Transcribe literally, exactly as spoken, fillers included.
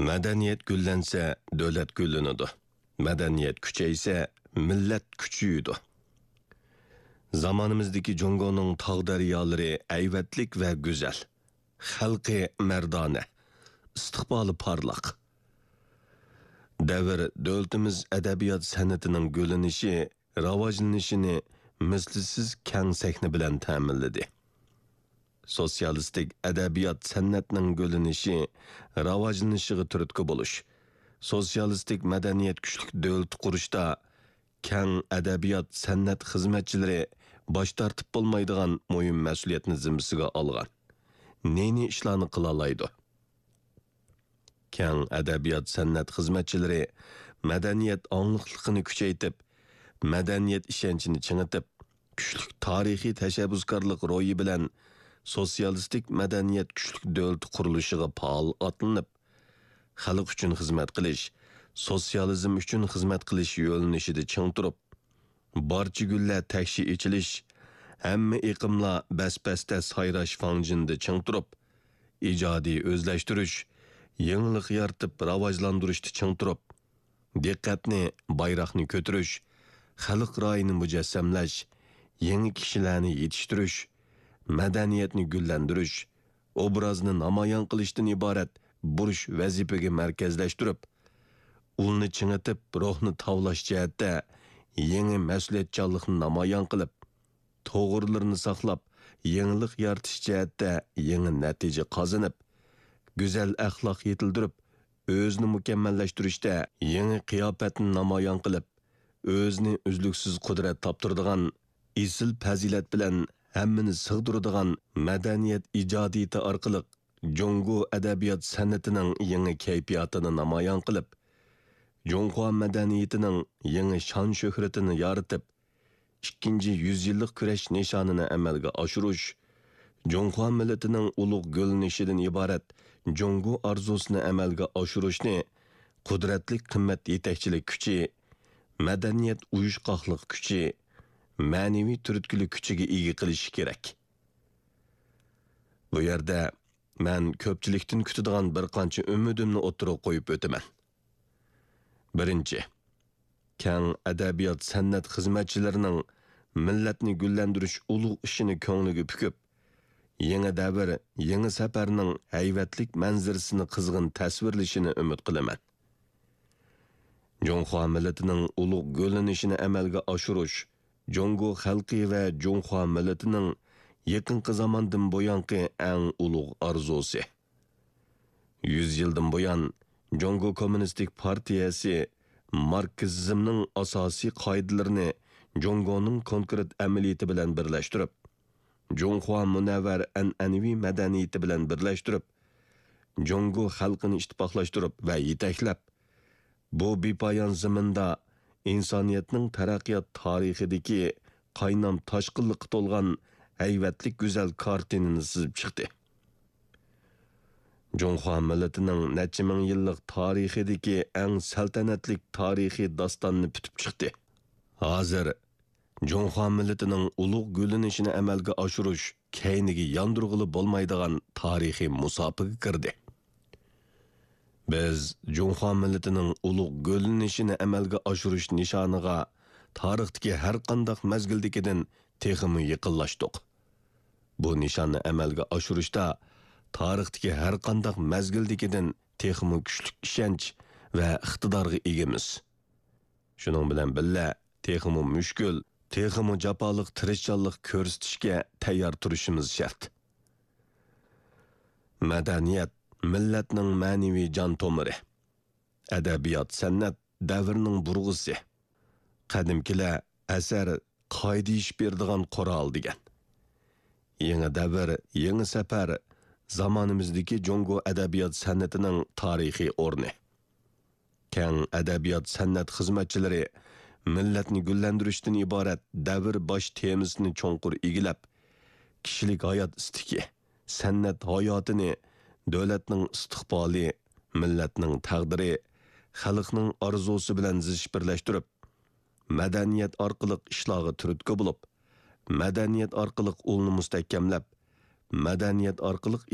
مەدەنىيەت گۈللەنسە، دۆلەت گۈللىنىدۇ. مەدەنىيەت كۈچەيسە، مىللەت كۈچىيىدۇ. زامانىمىزدىكى جۇڭگونىڭ تاغ-دەريالىرى ھەيۋەتلىك ۋە گۈزەل. خەلقى مەردانە، ئىستىقبالى پارلاق. دەۋر دۆلىتىمىز ئەدەبىيات سەنئىتىنىڭ گۈللىنىشى، راۋاجلىنىشىنى مىسلىسىز كەڭ سەھنە بىلەن تەمىنلىدى. سوتسىيالىستىك ئەدەبىيات سەنئەتنىڭ گۈللىنىشى، راۋاجلىنىشىغا تۈرتكە بولۇش، سوتسىيالىستىك مەدەنىيەت كۈچلۈك دۆلىتى قۇرۇشتا كەڭ ئەدەبىيات سەنئەت خىزمەتچىلىرى باش تارتىپ بولمايدىغان مۇھىم مەسئۇلىيەتنى زىممىسىگە ئالغان. نى-نى ئىشلارنى قىلالايدۇ. كەڭ ئەدەبىيات سەنئەت خىزمەتچىلىرى مەدەنىيەت ئاڭلىقلىقىنى كۈچەيتىپ، مەدەنىيەت ئىشەنچىنى چىڭىتىپ، كۈچلۈك تارىخىي تەشەببۇسكارلىق روھى بىلەن سوتسىيالىستىك مەدەنىيەت كۈچلۈك دۆلىتى قۇرۇلۇشىغا پائال ئاتلىنىپ، خەلق ئۈچۈن خىزمەت قىلىش، سوتسىيالىزم ئۈچۈن خىزمەت قىلىش يۆنىلىشىدە چىڭ تۇرۇپ، بارچە گۈللەر تەكشى ئېچىلىش، ھەممە ئېقىملار بەس-بەستە سايراش فاڭجېنىدا چىڭ تۇرۇپ، ئىجادىي ئۆزلەشتۈرۈش، يېڭىلىق يارىتىپ راۋاجلاندۇرۇشتا چىڭ تۇرۇپ، دىققەتنى بايراقنى كۆتۈرۈش، خەلق رايىنى مۇجەسسەملەش، يېڭى كىشىلەرنى يېتىشتۈرۈش، مەدەنىيەتنى گۈللەندۈرۈش، ئوبرازنى نامايان قىلىشتىن ئىبارەت بۇرچ ۋەزىپىگە مەركەزلەشتۈرۈپ، ئۇلنى چىڭىتىپ، روھنى تاۋلاش جەھەتتە يېڭى مەسئۇلىيەتچانلىقنى نامايان قىلىپ، توغرىلىرىنى ساقلاپ، يېڭىلىق يارىتىش جەھەتتە يېڭى نەتىجە قازىنىپ، گۈزەل ئەخلاق يېتىلدۈرۈپ، ئۆزىنى مۇكەممەللەشتۈرۈشتە يېڭى قىياپەتنى نامايان قىلىپ، ئۆزىنى ئۈزلۈكسىز قۇدرەت تاپتۇرىدىغان، ئېسىل پەزىلەت بىلەن ھەممىنى سىغدۇرىدىغان مەدەنىيەت ئىجادىيىتى ئارقىلىق جۇڭگو ئەدەبىيات سەنئىتىنىڭ يېڭى كەيپىياتىنى نامايان قىلىپ، جۇڭخۇا مەدەنىيىتىنىڭ يېڭى شان-شۆھرىتىنى يارىتىپ، ئىككىنچى يۈز يىللىق كۈرەش نىشانىنى ئەمەلگە ئاشۇرۇش، جۇڭخۇا مىللىتىنىڭ ئۇلۇغ گۈللىنىشىدىن ئىبارەت جۇڭگو ئارزۇسىنى ئەمەلگە ئاشۇرۇشنى قۇدرەتلىك قىممەت يېتەكچىلىك كۈچى، مەدەنىيەت ئۇيۇشقاقلىق كۈچى، مەنىۋى تۈرتكىلىك كۈچىگە ئىگە قىلىشى كېرەك. بۇ يەردە مەن كۆپچىلىكتىن كۈتىدىغان بىر قانچە ئۈمىدىمنى ئوتتۇرىغا قويۇپ ئۆتىمەن. بىرىنچى، كەڭ ئەدەبىيات سەنئەت خىزمەتچىلىرىنىڭ مىللەتنى گۈللەندۈرۈش ئۇلۇغ ئىشىنى كۆڭلىگە پۈكۈپ، يېڭى دەۋر، يېڭى سەپەرنىڭ ھەيۋەتلىك مەنزىرىسىنى قىزغىن تەسۋىرلىشىنى ئۈمىد قىلىمەن. جۇڭخۇا مىللىتىنىڭ ئۇلۇغ گۈللىنىشىنى ئەمەلگە ئاشۇرۇش جۇڭگو خەلقى ۋە جۇڭخۇا مىللىتىنىڭ يېقىنقى زاماندىن بۇيانقى ئەڭ ئۇلۇغ ئارزۇسى. يۈز يىلدىن بۇيان، جۇڭگو كوممۇنىستىك پارتىيەسى ماركسىزمنىڭ ئاساسىي قائىدىلىرىنى جۇڭگونىڭ كونكرېت ئەمەلىيىتى بىلەن بىرلەشتۈرۈپ، جۇڭخۇا مۇنەۋۋەر ئەنئەنىۋى مەدەنىيىتى بىلەن بىرلەشتۈرۈپ، جۇڭگو خەلقىنى ئىتتىپاقلاشتۇرۇپ ۋە يېتەكلەپ، بۇ بىپايان زېمىندا ئىنسانىيەتنىڭ تەرەققىيات تارىخىدىكى قاينام تاشقىنلىققا تولغان ھەيۋەتلىك گۈزەل كارتىنىنى سىزىپ چىقتى. جۇڭخۇا مىللىتىنىڭ نەچچە مىڭ يىللىق تارىخىدىكى ئەڭ سەلتەنەتلىك تارىخىي داستاننى پۈتۈپ چىقتى. ھازىر جۇڭخۇا مىللىتىنىڭ ئۇلۇغ گۈللىنىشىنى ئەمەلگە ئاشۇرۇش كەينىگە ياندۇرغىلى بولمايدىغان تارىخىي مۇساپىگە كىردى. بىز جۇڭخۇا مىللىتىنىڭ ئۇلۇغ گۈللىنىشىنى ئەمەلگە ئاشۇرۇش نىشانىغا تارىختىكى ھەر قانداق مەزگىلدىكىدىن تېخىمۇ يېقىنلاشتۇق. بۇ نىشاننى ئەمەلگە ئاشۇرۇشتا تارىختىكى ھەر قانداق مەزگىلدىكىدىن تېخىمۇ كۈچلۈك ئىشەنچ ۋە ئىقتىدارغا ئىگىمىز. شۇنىڭ بىلەن بىللە، تېخىمۇ مۈشكۈل، تېخىمۇ جاپالىق تىرىشچانلىق كۆرسىتىشكە تەييار تۇرۇشىمىز شەرت. مەدەنىيەت مىللەتنىڭ مەنىۋى جان تومۇرى. ئەدەبىيات-سەنئەت دەۋرنىڭ بۇرغىسى. قەدىمكىلەر «ئەسەر قائىدە ئېشىپ بېرىدىغان قورال» دېگەن. يېڭى دەۋر، يېڭى سەپەر زامانىمىزدىكى جۇڭگو ئەدەبىيات سەنئىتىنىڭ تارىخىي ئورنى. كەڭ ئەدەبىيات سەنئەت خىزمەتچىلىرى مىللەتنى گۈللەندۈرۈشتىن ئىبارەت دەۋر باش تېمىسىنى چوڭقۇر ئىگىلەپ، كىشىلىك ھايات ئىستىكى، سەنئەت ھاياتىنى دۆلەتنىڭ ئىستىقبالى، مىللەتنىڭ تەقدىرى، خەلقنىڭ ئارزۇسى بىلەن زىچ بىرلەشتۈرۈپ، مەدەنىيەت ئارقىلىق ئىشلارغا تۈرتكە بولۇپ، مەدەنىيەت ئارقىلىق ئۇلنى مۇستەھكەملەپ، مەدەنىيەت ئارقىلىق